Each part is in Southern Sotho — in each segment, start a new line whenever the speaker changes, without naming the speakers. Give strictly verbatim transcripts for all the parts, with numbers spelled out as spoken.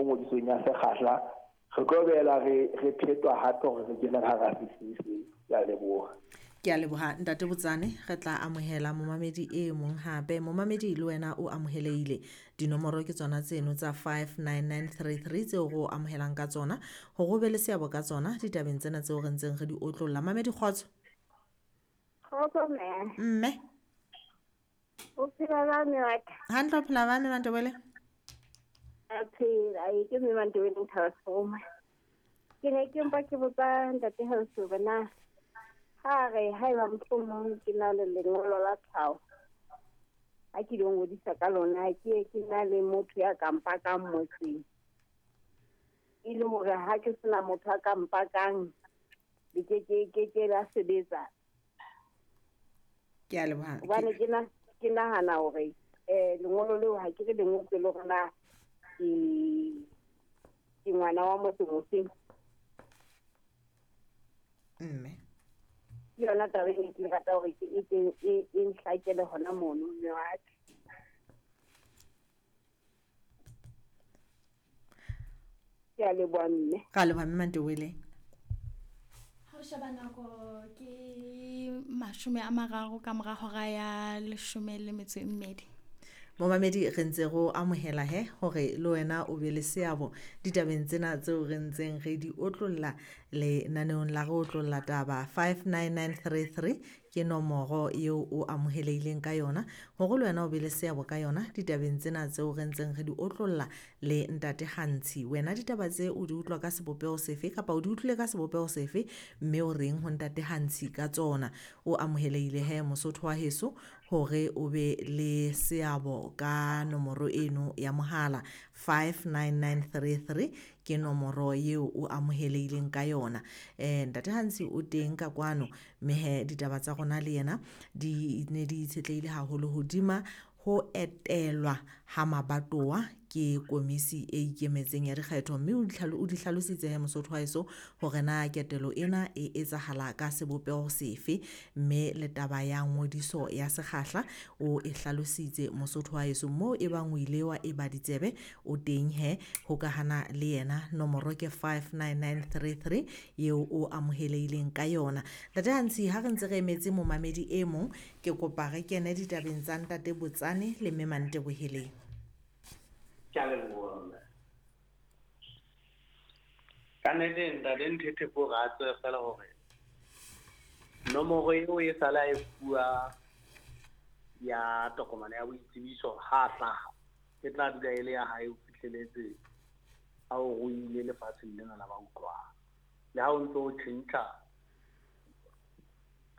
ngodisong ya sekgahla, re tlo boela re re phetwa hape hore re kene hara sesisi. Ke a leboha.
Ke a leboha Ntate Botsane, re tla amohela momamedi e mong hape. Momamedi le wena o amohelehile. Dinomoro ke tsona tseno tsa five nine nine three three tseo re o amohelang ka tsona, hore o be le seabo ka tsona ditabeng tsena tseo re ntseng re di otlolla. Mamedi, kgotso.
Kgotso mme.
Mme.
O phela ba mme wa ka?
Hantle, o phela ba mme Mantobele?
A phela, e ke mme Mantobele Nthabasoma. Ke ne ke mpa ke botsa Ntate Hausi hore na ha re haeba mohlomong ke na le lengolo la tlhaho, ha ke lo ngodisa ka lona, ke ke na le motho ya ka mpakang motseng, e le hore ha ke sena motho a ka mpakang le ke ke ke ke la sebetsa.
Ke a leboha.
Hobane ke na ke nahana hore eh lengolo leo ha ke re lengolo le rona ke ke ngwana wa motho motseng.
Mme
ke yona taba e ke rata hore ke e e e nhlakele hona mono mme wa ka. Ke a leboha mme.
Ka leboha mme Mantobele.
Ha o sheba nako ke mashome a mararo ka mora hora ya leshome le metso e mmedi.
Momamedi, re ntse re o amohela he hore le wena o be le seabo ditabeng tsena tseo re ntseng re di otlolla lenaneong la re otlolla taba. Five nine nine three three ke nomoro eo o amohelehileng ka yona hore le wena o be le seabo ka yona ditabeng tsena tseo re ntseng re di otlolla le Ntate Gantshi. Wena ditaba tse o di utlwa ka sebopeho sefe kapa o di utlwile ka sebopeho sefe, mme o reng ho Ntate Gantshi ka tsona? O amohelehile he Mosotho wa heso hore o be le seabo ka nomoro eno ya mohala. Five nine nine three three ke nomoro eo o amohelehileng ka yona. Eh Ntate Gantshi o teng ka kwano, mme he ditaba tsa rona le yena di ne di itshetlehile haholo hodima ho etelwa ha mabatowa ke komisi e ikemetseng ya dikgetho, mme o di hlalo-, o di hlalositse he Mosotho wa heso hore na ketelo ena e etsahala ka sebopeho sefe, mme le taba ya ngodiso ya sekgahla o e hlalositse Mosotho wa heso. Moo e bang o ile wa eba ditsebe o teng he hokahana le yena. Nomoro ke five nine nine three three eo o amohelehileng ka yona. Ntate Gantshi, ha re ntse re emetse momamedi e mong, ke kopa re kene ditabeng tsa Ntate Botsane le Mme Manteboheleng.
Ke a leboha mme. Ka nnete Ntate Nthethe ko re a tsebe fela hore nomoro eo e sale a e fuwa ya tokomane ya boitsebiso ha a hlaha, e tla dula e le ya hae ho fihleletse a o ruile lefatsheng lena la ba utlwang. Le ha o ntso o tjhentjha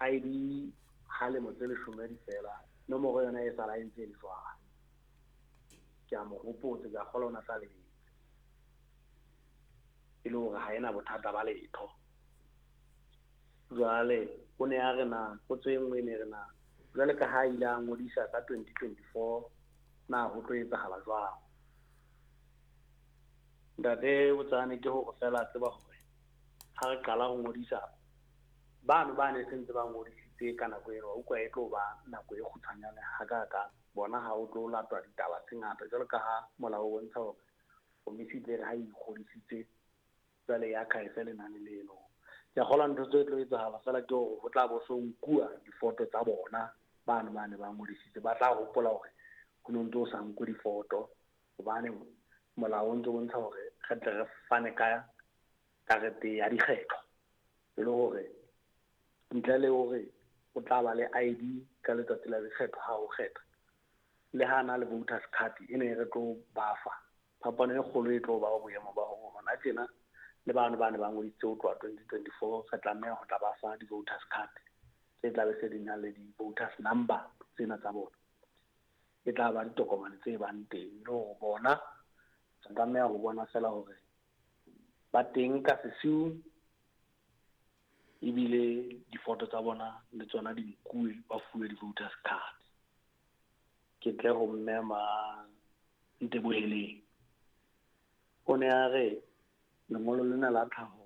I D ha lemo tse leshome di fela, nomoro yona e sala e ntse e le jwalo. Ke a mo hopotse, ke a kgolwa o na sa lebetse. E le hore ha ena bothata ba letho. Jwale o ne a re na, potso e nngwe e ne re na, jwale ka ha ile a ngodisa ka twenty twenty-four, na ho tlo etsahala jwang? Ntate Botsane, ke hore fela tseba hore ha re qala ho ngodisa, bano ba ne sentse ba ngodisitse ka nako eno, wa utlwa e tlo ba nako e kgutshwanyane hakakang. Bona ha o tlo latwa ditaba tse ngata jwalo ka ha molao o bontsha hore komisi e tle re ha e ikgodisitse jwale ya khaese lenane leno. Ke a kgolwa ntho tse tlo etsahala fela ke hore ho tla bo so nkuwa difoto tsa bona bano ba ne ba ngodisitse, ba tla hopola hore ho no ntso sa nkwe difoto, hobane molao o ntso bontsha hore re tle re fane ka karete ya dikgetho, e le hore ntle le hore o tla ba le I D ka letsatsi la dikgetho ha o kgetha, le ha na le voters card e ne re tlo ba fa. Phapano e kgolo e tlo ba ho boemo ba hore hona tjena le bano ba ne ba ngodisitse ho tloha twenty twenty-four, re tlameha ho tla ba fa di-voters card tse tla be se di na le di-voters number tsena tsa bona. E tla ba ditokomane tse bang teng, le hore bona re tlameha ho bona fela hore ba teng ka sesiu, ebile difoto tsa bona le tsona di nkuwe, ba fuwe di-voters card. Ke tle ho mme ma Nteboheleng. O ne a re lengolo lena la tlhaho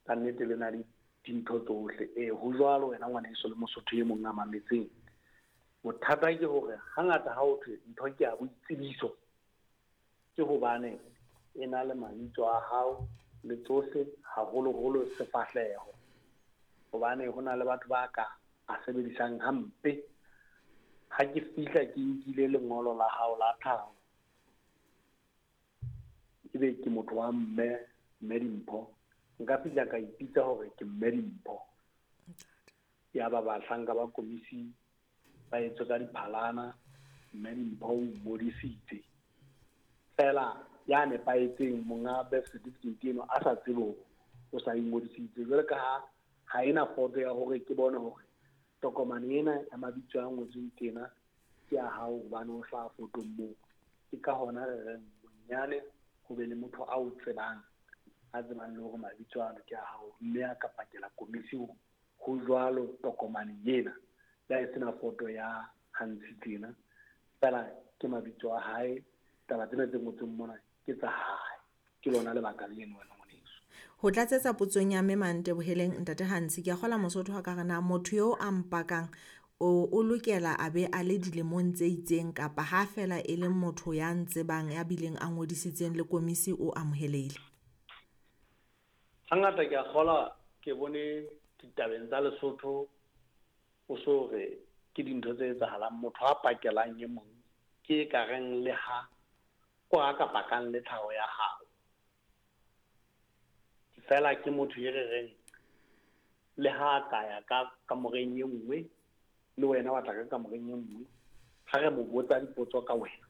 ka nnete le na le dintho tsohle. Ee, ho jwalo wena ngwaneso le Mosotho e mong a mametseng. Bothata ke hore hangata ha ho thwe ntho ke ya boitsebiso, ke hobane E na le mabitso a hao le tsohle, haholoholo sefahleho. Hobane ho na le batho ba ka a sebedisang hampe. Ha ke fihla ke nkile lengolo la hao la tlhaho, ebe ke motho wa mme, mme Dimpho. Nka fihla ka ipitsa hore ke mme Dimpho. Ya ba bahlanka ba komisi ba etswe ka diphalana, mme Dimpho o ngodisitse. Feela ya nepahetseng monga birth certificate eno a sa tsebe hore o sa ingodisitse. Jwale ka ha ha ena foto ya hore ke bone hore tokomane ena ya mabitso a ngotsweng tena ke ya hao hobane o hlaha fotong moo. Ke ka hona re reng bonyane ho be le motho a o tsebang, a tsebang le hore mabitso ano ke a hao, mme a ka pakela komisi hore ho jwalo tokomane ena. Le ha e sena foto ya Hansi tena, feela ke mabitso a hae, taba tsena tse ngotsweng mona ke tsa hae. Ke lona lebaka leno wena ngwaneso.
Ho tlatsetsa potsong ya mme Manteboheleng ntate Hansi, ke a kgola Mosotho ha ka re na motho eo a mpakang o, o lokela a be a le dilemong tse itseng kapa ha feela e le motho ya ntsebang ya bileng a ngodisitseng le komisi o amohelehile?
Hangata ke a kgola ke bone ditabeng tsa Lesotho o so re ke dintho tse etsahalang, motho a pakelang e mong ke e ka reng le ha ko a ka pakang le tlhaho ya hao. Feela ke motho e re reng le ha a ka ya ka kamoreng e nngwe le wena wa tla ka kamoreng e nngwe, ha re mo botsa dipotso ka wena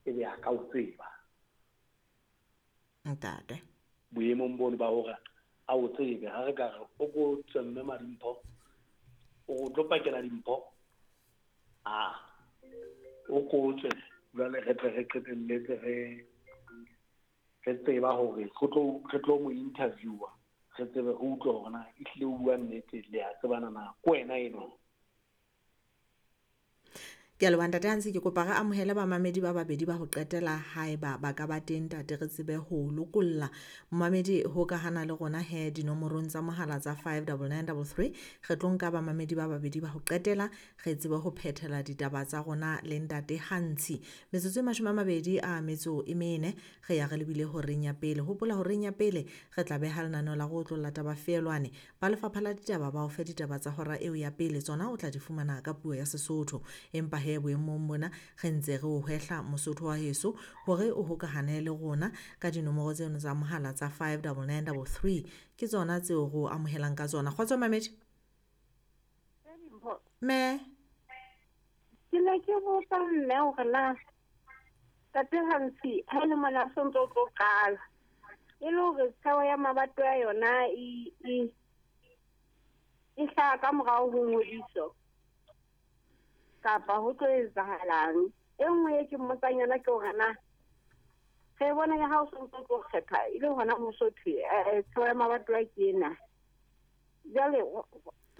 ebe a ka o tseba.
Ntate.
Boemong bono ba hore a o tsebe, ha re ka re o ko tswe mme Madimpho, o tlo pakela Dimpho, a o ko tswe jwale re tle re qetelletse re re tseba hore re tlo re tlo mo interviewer, re tsebe re utlwe hore na ehlile o bua nnete le a tsebana na ke wena eno.
Ke a leboha ntate Hansi, ke kopa re amohele bamamedi ba babedi ba ho qetela haeba ba ka ba teng ntate re tsebe ho lokolla momamedi ho ka hana le rona he dinomorong tsa mohala tsa five double nine double three. Re tlo nka bamamedi ba babedi ba ho qetela re tsebe ho phethela ditaba tsa rona le ntate Hansi. Metsotso e mashome a mabedi a metso e mene re ya re lebile horeng ya pele. Hopola horeng ya pele re tla beha lenaneo la go otlolla taba feelwane. Ba lefapha la ditaba ba o fe ditaba tsa hora eo ya pele, tsona o tla di fumana ka puo ya Sesotho. Empa he boemong bona re ntse re o hwehla Mosotho wa heso hore o hokahane le rona ka dinomoro tseno tsa mohala tsa five double nine double three, ke tsona tseo re o amohelang ka tsona. Kgotso mamedi. Me
ke ne ke botsa mme hore na tate Hansi ha le mona o ntso tlo qala e le hore tsheo ya mabato ya yona e e e hlaha ka morao ho ngodiso kapa ho tlo etsahalang. E nngwe e ke mmotsang yona ke hore na re bona ya ha o sontso tlo kgetha e le hona Mosotho tsheo ya mabato a ke ena. Jwale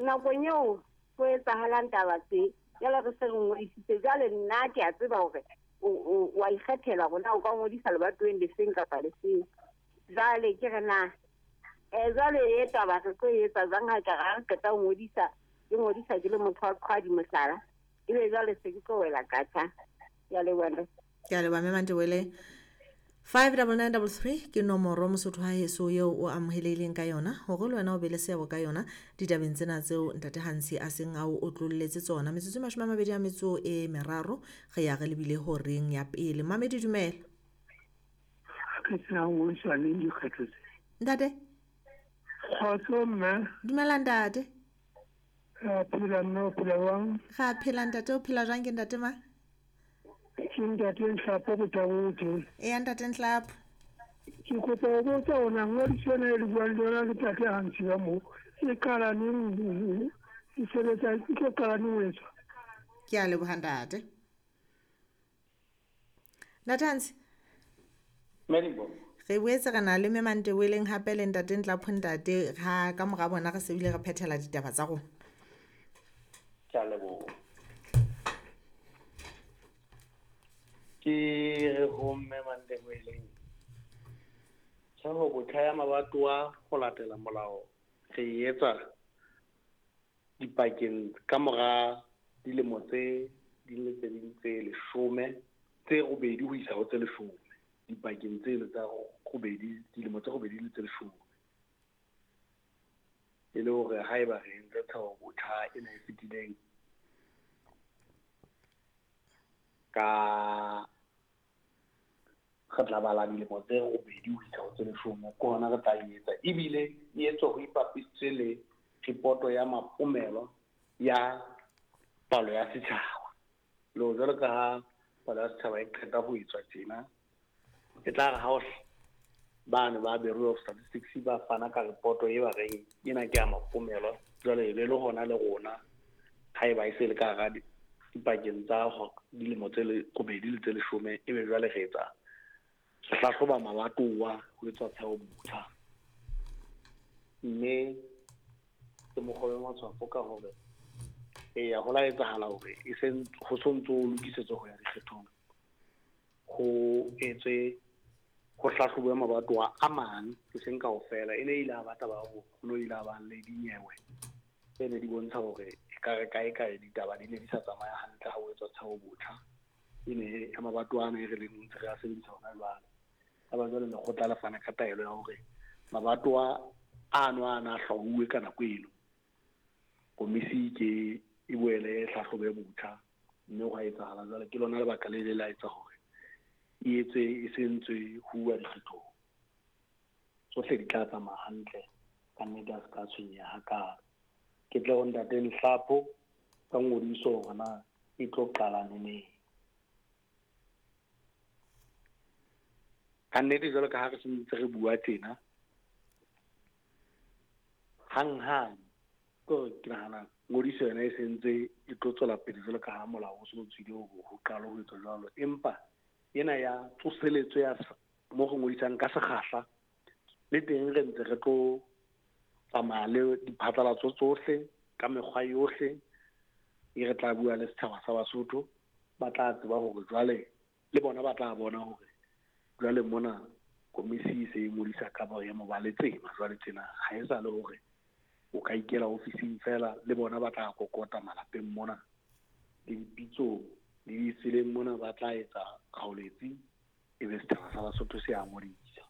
nakong eo ho etsahalang taba tse jwale re se re ngodisitse, jwale nna ke a tseba hore o wa ikgethela hore na o ka ngodisa lebatoweng lefeng kapa lefeng. Jwale ke re na um jwale e taba re tlo e etsa jwang ha ka ra re qeta ho ngodisa, ke ngodisa ke le motho wa qhwadi mohlala, ebe jwale se ke tlo wela katjha. Ke a leboha ntate.
Ke a leboha mme Manteboheleng. five double nine double three ke nomoro Mosotho wa heso eo o amohelehileng ka yona hore le wena o be le seabo ka yona ditabeng tsena tseo ntate Hansi a seng a o otlolletse tsona. Metsotso e mashome a mabedi a metso e meraro re ya re lebile horeng ya pele. Mamedi dumela.
Ke tsena ngodiswa neng dikgetho tse?
Ntate.
Kgotso mme.
Dumela ntate.
Re a phela mme, o phela jwang?
Re a phela ntate, o phela jwang ke ntate mang?
Ke ntate Nhlapo Botabotho.
Eya ntate Nhlapo.
Ke kopa ho botsa hore na ngodiso ena e le buang le yona le ntate Hansi ka moo e qala neng, e sebetsa e tlo qala neng ho etswa?
Ke a leboha ntate. Ntate Hansi.
Madibo.
Re boetse re na le mme Manteboheleng hape le ntate Ntlapho ntate ha ka mora bona re se bile re phethela ditaba tsa rona.
Ke a leboha. Ke re ho mme Manteboheleng, tjheho botjha ya mabatowa ho latela molao re e etsa dipakeng ka mora dilemo tse ding le tse ding tse leshome tse robedi ho isa ho tse leshome. Dipakeng tseno tsa robedi, dilemo tse robedi le tse leshome. E le hore haeba re entse tshwao botjha ena e fetileng ka re tla bala dilemo tse robedi ho isa ho tse leshome, ke hona re tla e etsa. Ebile e etswa ho ipapisitswe le ripoto ya mapomelo ya palo ya setjhaba. Le ho jwalo ka ha palo ya setjhaba e qeta ho etswa tjena, e tla re ha o bane ba Bureau of Statistics ba fana ka ripoto e ba reng ena ke ya mapomelo, jwale e be le hona le rona haeba e se le ka hara dipakeng tsa dilemo tse robedi le tse leshome, ebe jwale re etsa re hlahloba mabatowa ho etswa tshwao botjha. Mme ke mokgwa wa matshwafo ka hore eya ho la etsahala hore e se ho sontso o lokisetswa ho ya dikgethong, ho etswe ho hlahlobuwe mabatowa a mang, e seng kaofela. E ne ile a ba taba ya hore ho no ile a ba le dinyewe tse ne di bontsha hore ekare kae kae ditaba di ne di sa tsamaya hantle ha ho etswa tshwao botjha. E ne ya mabatowa ana e re leng ntse re a sebedisa hona jwale. Ya ba jwale lekgotla le fana ka taelo ya hore mabatowa ano a na hlwauwe ka nako eno, komisi ke e boele e hlahlobe botjha, mme hwa etsahala jwale. Ke lona lebaka le ile la etsa hore e etswe e se ntswe ho uwa dikgethong. Tsohle di tla tsamaya hantle, ka nnete a se ka tshwenyeha hakalo. Ke tle ho ntate Nhlapho ka ngodiso hore na e tlo qala neneng. Ka nnete jwalo ka ha re sentse re bua tjena, hanghang ke hore ke nahana ngodiso yona e sentse e tlo tswela pele jwalo ka ha molao o so tswile hore ho qalwe ho etswa jwalo. Empa ena ya tsoseletso ya mo re ngodisang ka sekgahla, le teng re ntse re tlo tsamaya le diphatlalatso tsohle ka mekgwa yohle e re tla bua le setjhaba sa Basotho. Ba tla tseba hore jwale le bona ba tla bona hore jwale mona komisi e se e ngodisa ka boemo ba letsema jwale tjena. Ha e sa le hore o ka ikela ofising feela, le bona ba tla kokota malapeng mona le dipitsong le ditseleng mona, ba tla etsa kgaoletsi ebe setjhaba sa Basotho se a ngodisa.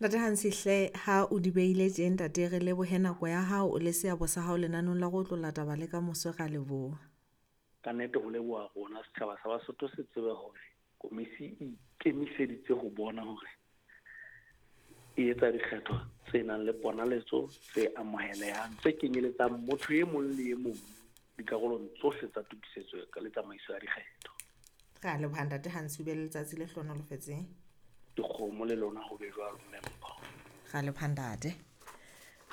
Ntate Hansi hle, ha o di beile tje ntate, re lebohe nako ya hao le seabo sa hao lenanong la go otlolla taba le ka moso. Ra leboha.
Ka nnete ho leboha rona setjhaba sa Basotho se tsebe hore komisi e ikemiseditse ho bona hore e etsa dikgetho tse nang le ponaletso, tse amohelehang, tse kenyeletsang motho e mong le e mong dikarolong tsohle tsa tokisetso le tsamaiso ya dikgetho.
Re a leboha ntate Hansi, o be le letsatsi le hlohonolofetseng.
Dikgomo le lona ho be jwalo, mme Mpho.
Ra leboha ntate.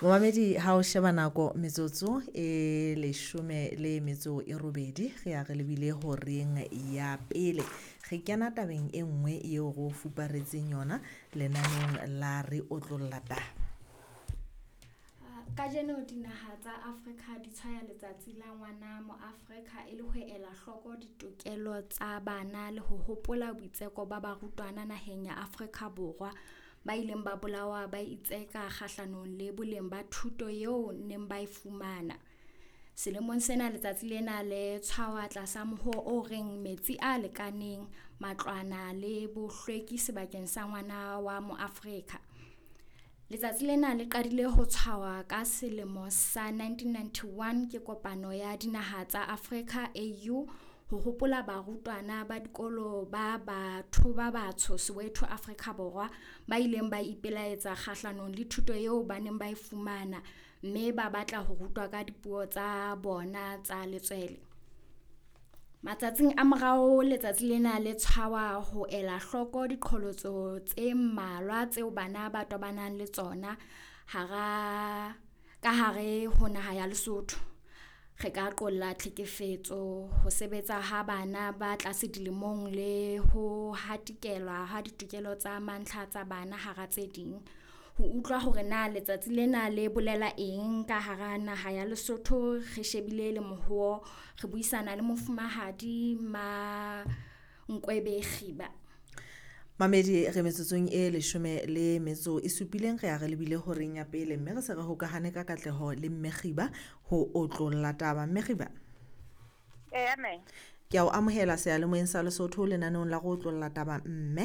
Momamedi, ha o sheba nako metsotso e leshome le metso e robedi, re ya re lebile horeng ya pele. Re kena tabeng e nngwe eo re o fuparetseng yona lenaneng la re otlolla taba.
Kajeno dinaha tsa Afrika di tshwaya letsatsi la ngwana moAfrika e le ho ela hloko ditokelo tsa bana le ho hopola boitseko ba barutwana naheng ya Afrika Borwa ba ileng ba bolawa ba itseka kgahlanong le boleng ba thuto eo neng ba e fumana. Selemong sena letsatsi lena le tshwawa tlasa mohoo o reng metsi a lekaneng, matlwana le bohlweki sebakeng sa ngwana wa moAfrika. Letsatsi lena le qadile ho tshwawa ka selemo sa nineteen ninety-one ke kopano ya dinaha tsa Afrika A U ho hopola barutwana ba dikolo ba batho ba batsho Soweto Afrika Borwa ba ileng ba ipelaetsa kgahlanong le thuto eo ba neng ba e fumana mme ba batla ho rutwa ka dipuo tsa bona tsa letswele. Matsatsing a morao letsatsi lena le tshwawa ho ela hloko diqholotso tse mmalwa tseo bana ba tobanang le tsona hara ka hare ho naha ya Lesotho. Re ka qolla tlhekefetso, ho sebetsa ha bana ba tlase dilemong le ho hatikelwa ha ditokelo tsa mantlha tsa bana hara tse ding. Ho utlwa hore na letsatsi lena le bolela eng ka hara naha ya Lesotho, re shebile le mohoo, re buisana le mofumahadi Ma Nkwebe Kgiba.
Mamedi, re metsotsong e leshome le metso e supileng, re ya re lebile horeng ya pele, mme re se re hokahane ka katleho le mme Kgiba ho otlolla taba. Mme Kgiba.
Eya, mme.
Ke a o amohela seyalemoyeng sa Lesotho lenaneong la go otlolla taba mme.